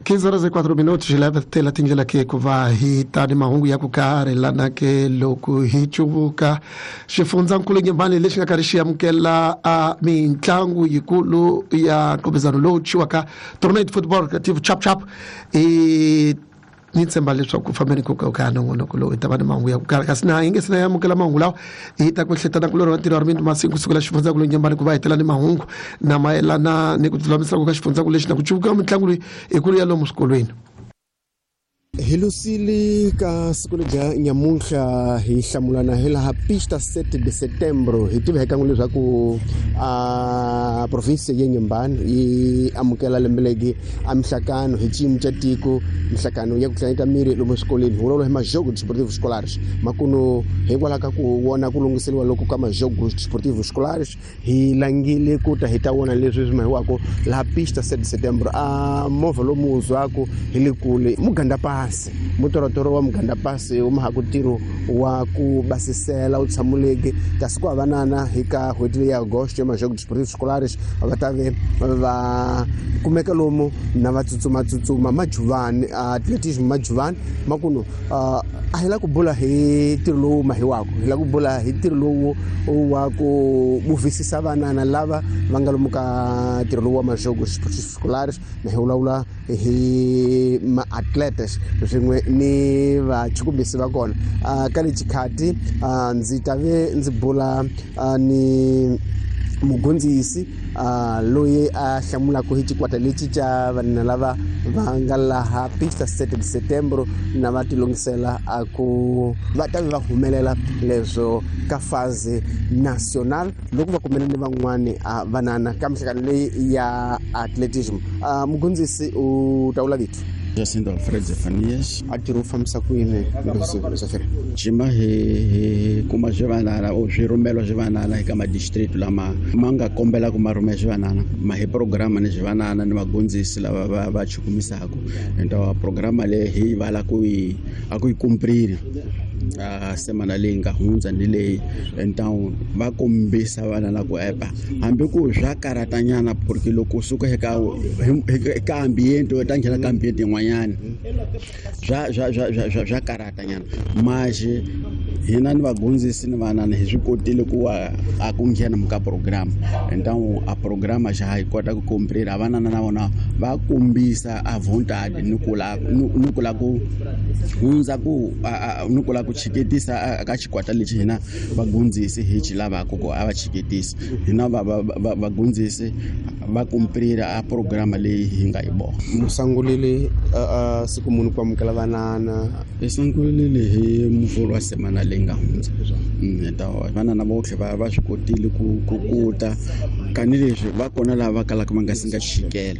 15 horas e 4 minutos hi lava tela tindlela ke ku va hi ta ni mahungu ya ku karhi lana ke loko hi cuvuka xifundzankulu Nyembani lexi nga karhi xi amukela a mitlangu yikulu ya nqopezano lowu thyiwaka Tournament Football Creative Chap Chap i ni tshemba leswaku fambeni ku ka ka nongonoko lowu hi ta va ni mahungu ya ku karhi, kasi na hi nge se na amukela mahungu lawa hi ta ku hletana kulorhi wa ntirho wa rimini masiku kusukela xifundzankulu Nyembani ku va hi tela ni mahungu na mayelana ni ku lulamisela ka xifundzankulu lexi na ku cuvuka mitlangu leyi ikulu ya lomu swikolweni. Hi lusile ka siku lebya nyamuntlha hi hlamulana hi laha pista 7 de setembro hi tiva hi kan'we leswaku a province ya Nyembani yi amukela lembe legi a mihlakano hi xiyimo xa tiko, mihlakano ya ku hlanganyeta miri lomu swikolweni hi vulavula hi majogo desportivo scolares makuno hikwalaho ka ku vona ku lunghiseriwa loko ka majogo desportivo scolares hi langile ku ta hi ta vona leswi swi mahiwaka laha pista 7 setembro a movha lomu wu zwaku hi le kule muganda pasi mutorotoro wa muganda pasi wu mahaku ntirho wa ku basisela wu tshamuleke kasi ku havanana hi ka n'hweti leyi ya agosto ya majogo desportivo scolares va ta ve va kumeka lomu na va tsutsumatsutsuma majuvani atletism majuvani makuno a hi la ku bula hi ntirho lowu mahiwaka hi la ku bula hi ntirho lowu wa ku buvisisa vanana lava va nga lomu ka ntirho lowu wa majogo scolares na hi vulavula hi maatletes swin'we ni vachukumbisi va kona. Ka le xikhati ndzi ta ve ndzi bula ni mugondzisi loyi a hlamulaka hi xikwata lexi xa vanhu lava va nga laha pista 7 de setembro na va tilungisela a ku va ta va humelela leswo ka phase national loko va kumene ni van'wani vanana ka mihlangano leyi ya atletism. Mugondzisi u ta vula vito? Jacinto Alfred Zefanias. A tirhi u fambisa ku yini Zefanias? Jima hi kuma swivanana o swirhumelo swivanana eka madistrict lama ma nga kombela ku ma rhumela swivanana ma hi programa ni swivanana ni vagondzisi lava va va chukumisaka ento programa leyi hi vala ku yi a ku yi kumprile a semana leyi nga hundza ni leyi ento va kombisa vana la ku epa hambi ku swa karatanyana porque loko suka eka eka ambiente u ta nghena ka ambiente yin'wanyana swa swa swa swa swa swa karatanyana manje hina ni vagondzisi ni vanana hi swi kotile ku a ku nghena ka program então a programa xa hi kota ku komprira vanana na vona va kombisa a vontade ni ku la ni ku la ku hundza ku ni ku la ku chiketisa ka xikwata lexi hina vagondzisi hi xi lavaka ku a va chiketisa hina vagondzisi va komprira a programa leyi hi nga yi vona. Musangulile siku muni ku amukela vanana? Hi sungulile hi muvhulu wa semana leyi nga hundza. Vanana votlhe va swi kotile ku ku ta tanihileswi va kona lava va kalaka va nga si nga chikela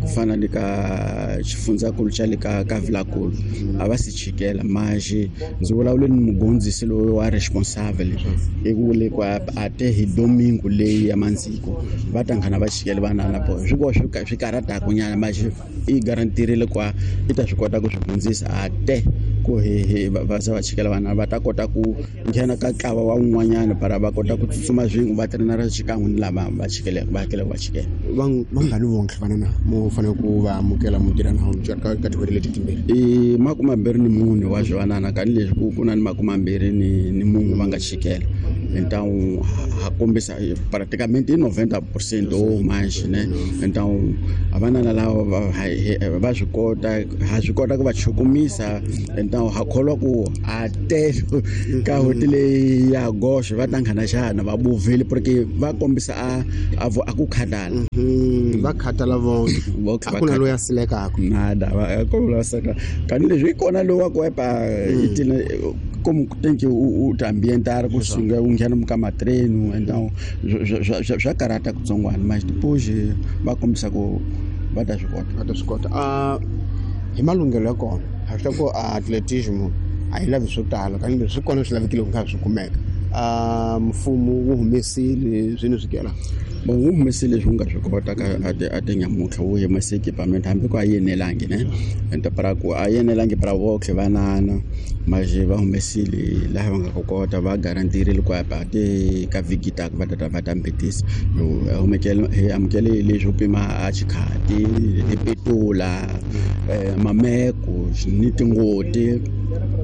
ku fana ni ka xifundzankulu xa le ka ka Vilakulu a va si chikela manje ndzi vulavule ni mugondzisi loyi wa responsable i ku le ku a te hi domingo leyi ya mandziko va ta nghena va chikela vanana po swi ko swi karataku nyana manje i garantirile ku i ta swi kota ku swi hundzisa a te ku hi va za va chikela vana va ta kota ku nghena ka ntlawa wa un'wanyana para va kota ku tsutsuma swin'we va trenara xikan'we ni lava va chikeleke va hakeleke va chikela. Vangani vonke vanana mo fanele ku va amukela mu tirha na ka tin'hweti leti timbirhi? I 24 wa swivanana tanihileswi ku ku na ni 24 va nga chikela então ha kombisa praticamente i 90% o manje ne então vanana lava va swi kota ha swi kota ku va chukumisa então ha kholwa ku a te ka n'hweti leyi ya goxe va ta nghena xana va buvile porque va kombisa a a ku khatala va khatala vonke a ku na loyi a silekaka nada va ku la seka tanihileswi yi kona lowu wa ku epa itina como tem que u ta ambientar ku sunga u nghena ka matreno então swa karata kutsongwana mas depois va kombisa ku va ta swi kota. Va ta swi kota. Hi malunghelo ya kona ha swi ku atletism a yi lavi swo tala kambe swi kona swi lavekile ku nga swi kumeka. Mfumo wu humesile swini swikela bon wu humesile leswi wu nga swi kota ka a tinyamutlha wu humese equipment hambi ku a yi enelangi ne ende para ku a yi enelangi para votlhe vanana maje va humesile laha va nga ku kota va garantirile ku apa te ka vhiki taka va tata va ta mbetisa hi amukele leswo pima a xikhati tipetula mameko ni tingoti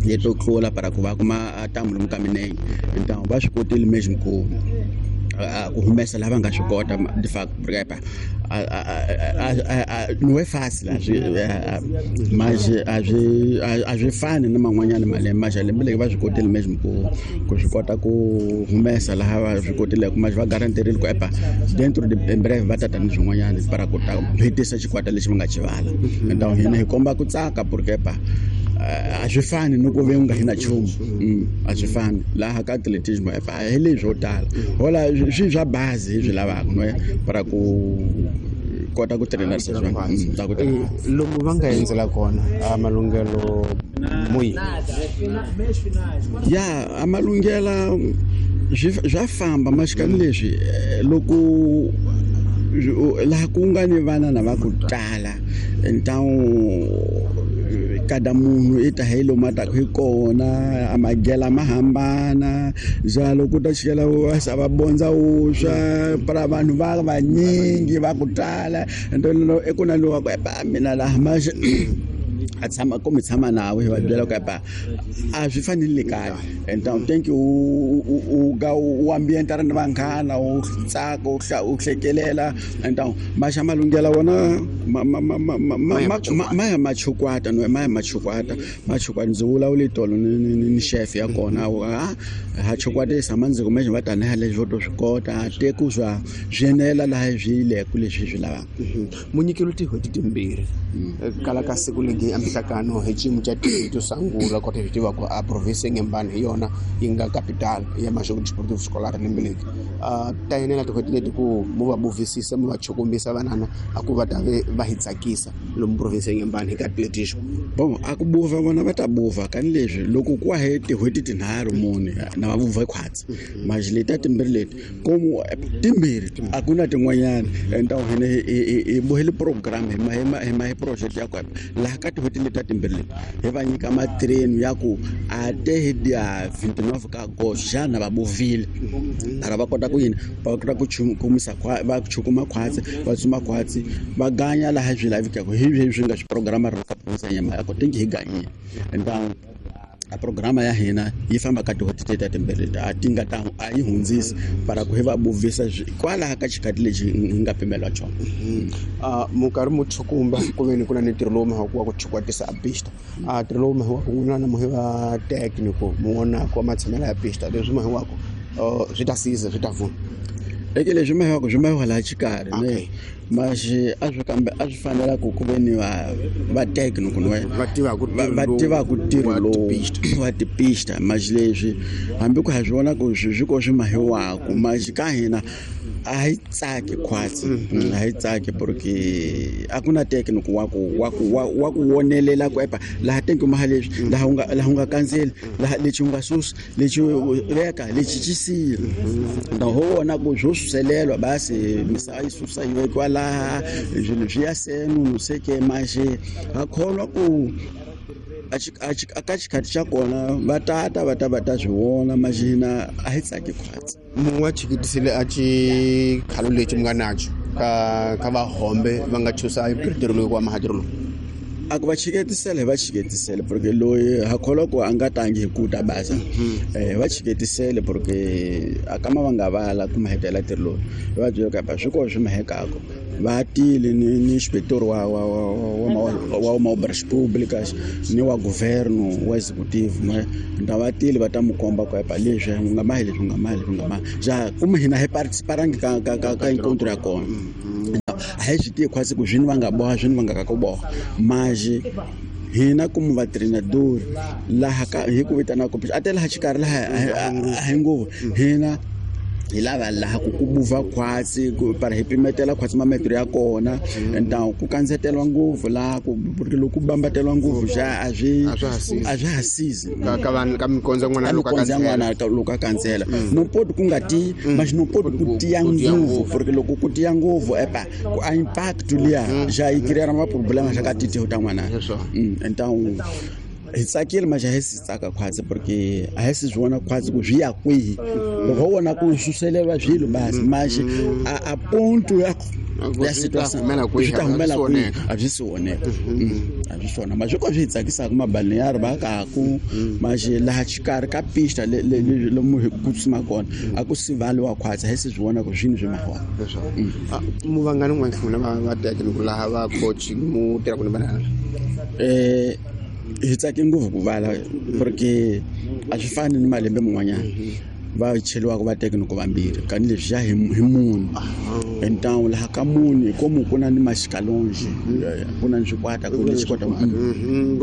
leto tlula para ku va kuma a tamu lomu ka minenge então va swi kotile mesmo ku ku humesa lava nga swi kota de fact porque no é fácil mas a swi fani na man'wanyana malembe mas lembe leri va swi kotile mesmo ku swi kota ku humesa laha va swi kotileke mas va garantirile ku epa dentro de em breve va tata ni swin'wanyana para ku ta hetisa xikwata lexi va nga xi vala então hina hi komba ku tsaka porque epa a swi fani ni ku ve u nga hi na nchumu a swi fani laha ka atletismo epa hi leswo tala hola swi swa bazi hi swi lavaka no para ku kota ku trainer lomu va nga endzela kona a malunghelo muyi ya a malunghela swa famba maxikani leswi loko laha ku nga ni vana na va ku tala então kada munhu i ta hi lomu a taku hi kona a magela ma hambana njalo ku ta chikela va bondza wuswa para vanhu va vanyingi va ku tala ento i ku na lowa ku epa mina laha maxe a tshama kumbe tshama nawe hi va byela ku epa a swi fanele kaya então thank you u ga u ambienta ri ni vanghana u tsaka u hlekelela então maxa malunghela wona ma ya machukwata no ma ya machukwata machukwata ndzi vulavule tolo ni chef ya kona ha chukwatisa ma ndzi kume va tanihi leswi vo to swi kota teku swa swi enela laha swi yileku leswi swi lavaka munyikelo tin'hweti timbirhi kala ka siku legi a mihlakano hi xiyimo xa to sungula kota hi tiva ku a province ya Inhambane hi yona yi nga capital ya Maxogo Desportivo Escolar lembe leri ta enela tin'hweti leti ku mu va buvisisa mu va chukumbisa vanana a ku va ta ve va hi tsakisa lomu province ya Inhambane hi ka atletismo bon a ku buva vona va ta buva kani leswi loko ku he tin'hweti tinharhu mune na va buva khwatsi maji leti ta timbirhi leti komu timbirhi a ku na tin'wanyana então hina hi bohele program hi project ya kona laha ka tin'hweti leti ta timbirhi leti hi va nyika matreni ya ku a te hi dia 29 ka agosto xana va bovile para va kota ku yini va kota ku chukumisa va chukuma khwatsi va tsuma khwatsi va ganya laha swi lavekaka hi leswi nga swi programa ri ka province ya Inhambane ko tingi hi ganyile então a programa ya hina yi famba ka tin'hweti ta timbirhi a ti nga ta a yi hundzisi para ku hi va buvisa kwalaha ka xikhathi lexi hi nga pimeliwa xona minkarhi mo chukumba ku ve ni ku na ni ntirho lowu mahaku wa ku chukwatisa a pista a ntirho lowu mahiwaku n'wina na muhi va technical mu vonaka matshamelo ya pista leswi mahiwaku swi ta siza swi ta vuna eke leswi mahiwaku swi mahiwa laha xikarhi ne maxi a swi kambe a swi fanela ku ku ve ni va technical va tivaka ntirho lowu wa tipista maxi leswi hambi ku ha swi vona ku swi ko swi mahiwaku maxi ka hina a hi tsaki khwatsi a hi tsaki porque a ku na technical wa ku wonelela ku epa laha tenki maha leswi laha u nga kandzeli laha lexi u nga susi lexi veka lexi xi siya na ho vona ku swo suselelwa basi misava yi susa yi vekiwa laha swilo swi ya senu no se ke maxe ha kholwa ku a ka xikhathi xa kona va tata va ta va ta swi vona maxi hina a hi tsaki khwatsi munhu wa chikitisile a xikhalo lexi mi nga naxo ka vahombe va nga chusa ntirho lowu wa mahatirho lowu a ku va chiketisele hi va chiketisele porque loyi ha kholwa ku a nga tangi hi ku ta basa hi va chiketisele porque a kama va nga vala ku mahetela ntirho lowu hi va byela ku swi kona swi mahekaka va tile ni inspector wa obras públicas ni wa governo wa executive nta va tile va ta mu komba ku epa leswi u nga mahi leswi u nga mahi leswi u nga mahi ja kuma hina hi participarangi ka encontro ya kona a hi swi tivi khwatsi ku swini va nga boha swini va nga ka ku boha maji hina kumu va treinador laha ka hi ku vitana ku a te laha xikarhi laha a hi ngopfu hina Hi lava laha ku buva khwatsi para hi pimetela khwatsi mametro ya kona então ku kandzetelwa ngopfu laha ku loko ku bambateliwa ngopfu xa a swi ha sizi ka mikondzo ya n'wana loko a kandzela no poti ku nga ti mas no poti ku tiya ngopfu porque loko ku tiya ngopfu epa ku a impact liya xa yi create ma problema xa ka titeho ta n'wana. Então hi tsakile mas a hi si tsaka khwatsi porque a hi si swi vona khwatsi ku swi ya kwihi. Loko ho vona ku suseleriwa swilo basi mas a ponto ya situação swi ta humela kwihi a byi si voneka. A byi swona mas swo swi hi tsakisaka mabalneário va kaku mas laha xikarhi ka pista lomu hi ku tsutsuma kona a ku sivaliwa khwatsi a hi si swi vona ku swini swi mahiwa. Mu vangani n'wana va teka laha va coach mu tirhaka ni vanana? Hi tsake ngopfu ku vala porque a swi fani ni malembe man'wanyana va cheliwaka va teka vambirhi kani leswi xa hi munhu. Então laha ka munhu komu ku na ni maxikalonji ku na ni swikwata ku ni xikwata ku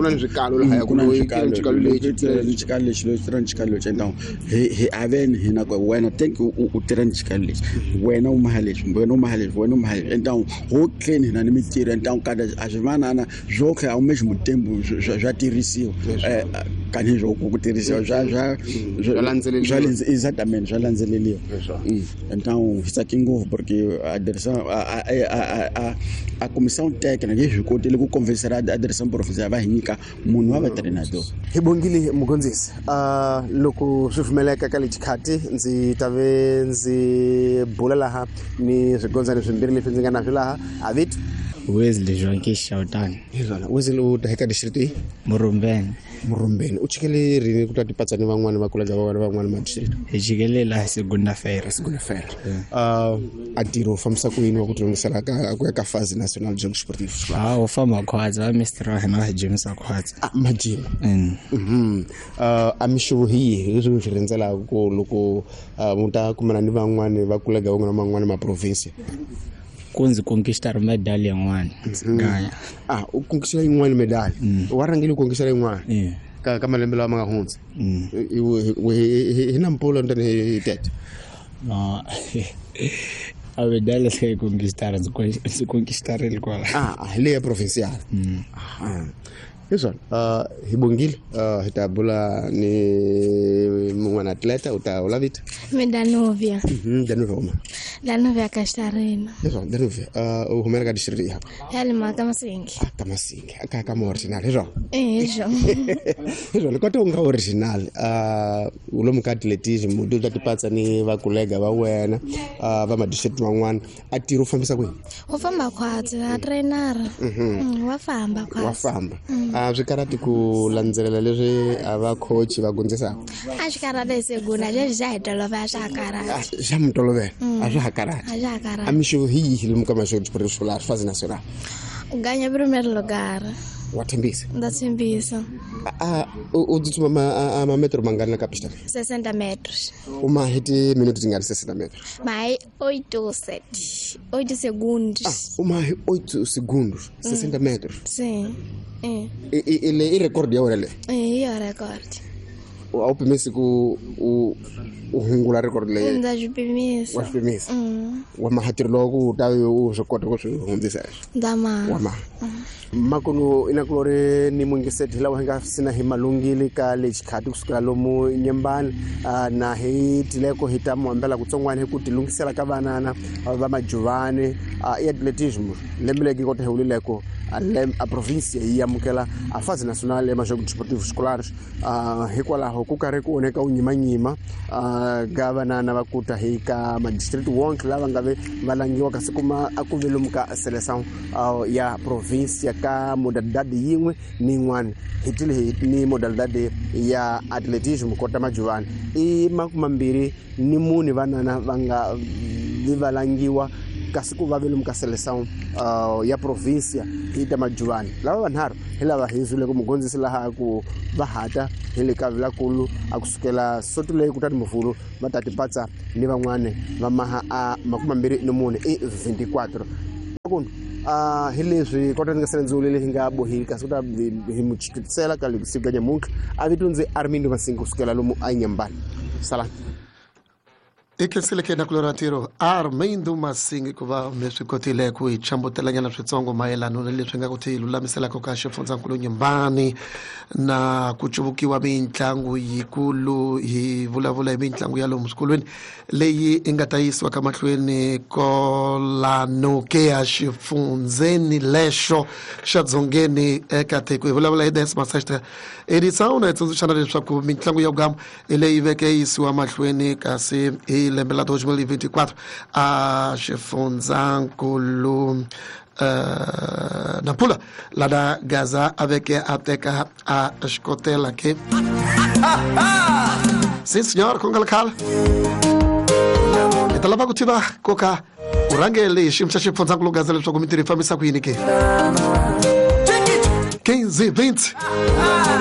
na ni swikalo laha ku na xikalo lexi xikalo lexi lexi tirha ni xikalo lexi. Então hi aveni hina ku wena thank you u tirha ni xikalo lexi wena u maha leswi wena u maha leswi wena u maha leswi. Então ho clean hina ni mitirho. Então kada a swi vanana swo kha ao mesmo tempo swa tirhisiwa kani swo ku tirhisiwa swa swa exatamente swa landzeleliwa. Então hi tsake ngopfu porque a direção a comissão técnica yi swi kotile ku convencer a direção provincial va hi nyika munhu wa va treinador. Hi bongile mugondzisi. Loko swi pfumeleka ka lexikhathi ndzi ta ve ndzi bula laha ni swigondzani swimbirhi leswi ndzi nga na swi laha avit Wesley Joaquim Shautani. Hizona Wesley u ta eka district yi Murumbeni. Murumbeni u chikele rini ku ta tipatsa ni van'wana va kolega va van'wana ma district? Hi chikele laha segunda-feira. Segunda-feira. A ntirho u fambisa ku yini wa ku tilunghisela ka ku ya ka phase national jogo sportivo? U famba khwatsi va mister wa hina va hi gymisa khwatsi. Majima. A mixavo hi yihi leswi mi swi rindzelaka ku loko mu ta kumana ni van'wana va kolega van'wana man'wana ma province? Ku ndzi conquistar medal yin'wana. Ganya. U conquistar yin'wana medal. Wa rhangile ku conquistar yin'wana. Ka malembe lawa ma nga hundza. Hi na mpfula ntani hi tete. No. A medal leyi conquistar ndzi conquistarile kwala. Hi leya provincial. Hiswona. Hi bongile hi ta bula ni mun'wana atleta u ta ula vito? Mi Danuvia. Danuvia uma? Danuvia Castarina. Hiswona Danuvia u humela ka district ya? Ya le ka Masingi. Ka Masingi ka ma original hiswona? Hiswona. Hiswona kota u nga original u lomu ka atletism u ta tipatsa ni va kolega va wena va ma district van'wana a ntirho u fambisa kwihi? U famba khwatsi a trainer. Wa famba khwatsi. Wa famba. Swi karhati ku landzelela leswi a va coach va gondzisaka? A swi karhati segunda leswi xa hi tolovela swa ha karhati. Xa mi tolovela a swa ha karhati. A swa ha karhati. A mixavo hi yihi lomu ka maxo escolar fase nacional? Ganha primeiro lugar. Wa tshembisa? Ndza tshembisa. U tsutsuma mametro mangani na ka pista? 60 metros. U ma hi timinuti tingani 60 metros? Ma hi 8 8 segundos. U ma hi 8 segundos 60 metros. Sim. I record ya wena leyi? I yo record. A wu pimisi ku u hungula record leyi? Ndza swi pimisa. Wa swi pimisa? Wa mahatirho lowu ku u ta u swi kota ku swi hundzisa? Ndza maha. Wa maha. Makuno inakulori ni mungiseti lawa hi nga sina hi malungile ka lexikhathi kusukela lomu Nyembani na hi tileko hi ta muhambela kutsongwana hi ku tilunghisela ka vanana va majuvani i atletism lembe legi kota hi wulileko a provincia yi amukela a fase nacional ya majogos desportivos escolares hikwalaho ku karhi ku onheka u nyimanyima ka vanana va kuta hi ka madistrict wonke lava nga ve va langiwa kasi kuma a ku ve lomu ka seleção ya provincia ka modalidade yin'we ni yin'wana hi tile hi ni modalidade ya atletism kota majuvani i 24 vanana va nga va langiwa kasi ku va ve lomu ka seleção ya provincia hi ta majuvani lava vanharhu hi lava hi zwile ku mugondzisi laha ku va hata hi le ka vilakulu a kusukela soto leyi kutani muvhulu va ta tipatsa ni van'wana va maha a 24 i 24 akunu hi leswi kota ndzi nga sele ndzi wulile hi nga bohile kasi ku ta hi muchikisela ka siku ka nyamuntlha a vito ndzi Armindo Masingi kusukela lomu a Nyembani salani. I khenseleke na kulora ntirho Armindo Masingi ku va mi swi kotile ku hi chambutelanyana switsongo mayelano na leswi nga ku ti lulamiselaka ka xifundzankulu Nyimbani na ku cuvukiwa mitlangu yikulu. Hi vulavula hi mitlangu ya lomu swikolweni leyi i nga ta yisiwa ka mahlweni kolano ke ya xifundzeni lexo xa dzongeni eka tiko. Hi vulavula hi décima sexta edição na hi tsundzuxana leswaku mitlangu ya vugamu hi leyi veke yisiwa mahlweni kasi hi lembe la 2024 a xifundzankulu Nampula lana Gaza a veke a teka a xikotela ke. Sim senhor, ku nga ri khale hi ta lava ku tiva koka u rhangele hi xiyimo xa xifundzankulu Gaza leswaku mintirho yi fambisa ku yini ke. 15 20.